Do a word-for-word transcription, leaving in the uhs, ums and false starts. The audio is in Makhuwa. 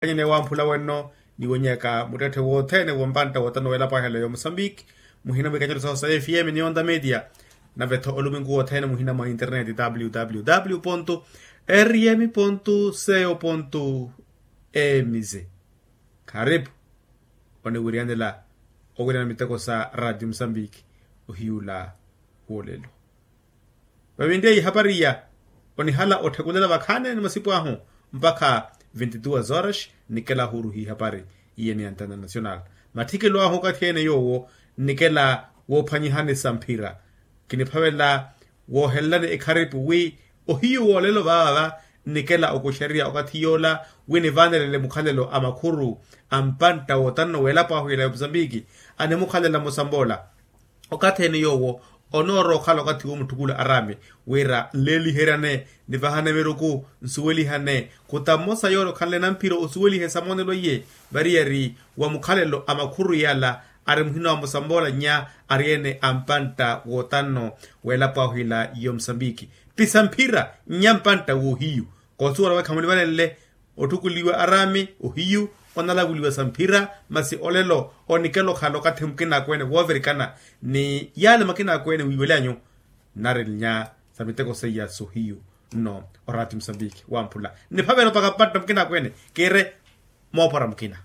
Wamphula wenno niwonyaka muttetthe wothene wompantta wotano welapo ahela yomusambiki. Muhina mwikanyelo saho sa fm ni onda media. Nave-tho oluminku wothene muhina mwa internet www rm co mz. Karipu oniwiriyanela owirana miteko sa radio musambiki. Ohiyula wolelo. Vavinriya ihapari iya onihala otthekulela vakhaani ni masipu ahu mpakha vinti duas horas. Nnikela ahuruhi ihapari iye ni antena national. Matthikelo ahu okathi ene yoowo nnikela woophwanyihani samphira. Kiniphavela woohelelani ekharipu wi ohiyu woolelo vaava nnikela okuxerya okathi yoola wi nivaanelele mukhalelo a makhuru a mpantta wootanno w'elapo ahu ila ya musambiki. Animukhalela musamboola okathi ene yoowo onoora okhala okathi woomutthukuula araami wira nleeliheryane nivahane miruku nsuwelihane. Kuta mmosa yoole okhanle namphira osuwelihe samoonelo iye variyari wa mukhalelo a makhuru yala ari muhina wa musamboola nnya ari ene a mpantta wootanno w'elapo ahu ila yomusambiki. Pisamphira nnya mpantta woohiyu koosuwela wekha munivanenle otthukuliwa araami ohiyu onalavuliwa samphira. Masi olelo onikela okhala okathi mukinaakweene woovirikana ni yaale makinaakweene wiiwelyanyu. Nari nnya sa miteko seiya sohiyu nno orati musambiki wamphula nniphavela opaka mpantta mukinaakweene kiire moophora mukina.